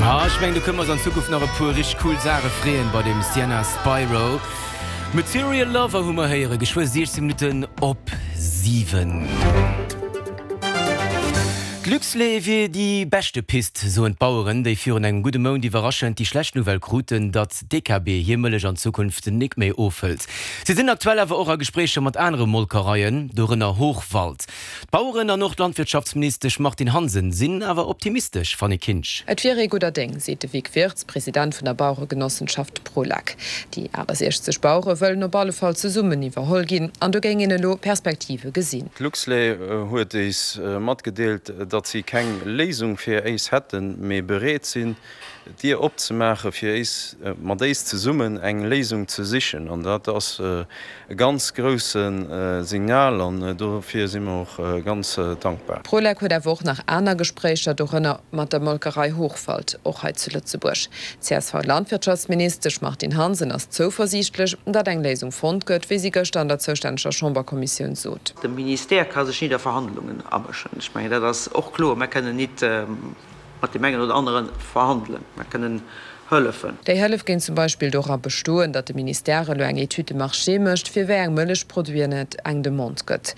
Ah, ech mengen do kënne mer eis an Zukunft nach e puer richteg cool Saache freeën bei dem Sienna Spiro. Material Lover hu mer héiere geschwë 16 Minutten op 7. D'Luxlait wier déi beschte Pist, soen d'Baueren, déi virun engem gudde Mount iwwerraschend déi schlecht Nouvelle kruten, datt DKB hir Mëllech an Zukunft nik méi ofhëlt. Si sinn aktuell awer och a Gespréicher mat anere Molkereien, dorënner Hochwald. D'Baueren an och d'Landwirtschaftsministesch Martine Hansen sinn awer optimistesch, Fanny Kinsch. Et wier ee gudder Déng, seet de Vic Wirtz, President vun der Baueregenossenschaft Prolac. Déi 68 Bauere wëllen op alle Fall zesummen iwwerholl ginn an do géing een elo Perspektive gesinn. D'Luxlait huet éis matgedeelt, datt si keng Léisung fir éis hätten, mee bereet sinn, d'Dier opzemaache fir éis, mat éis zesummen eng Léisung ze sichen. An dat ass e ganz grousse Signal an dofir si mer och ganz dankbar. D'Prolec huet awer och nach aner Gespréicher, dorënner mat der Molkerei Hochwald, och hei zu Lëtzebuerg. D'CSV-Landwirtschaftsministesch Martine Hansen ass zouversiichtlech, datt eng Léisung fonnt gëtt, wéi si gëschter an der zoustänneger Chamberkommissioun sot. De Ministère ka sech nit a Verhandlungen amëschen. Ech mengen, dat ass och kloer. Mer kënnen nit mat deem engen oder anere verhandelen, mer kënnen hëllefen. Déi Hëllef géing zum Beispill dora bestoen, datt de Ministère elo eng Étude de marché mécht, fir wéi eng Mëllechproduiten et eng Demande gëtt.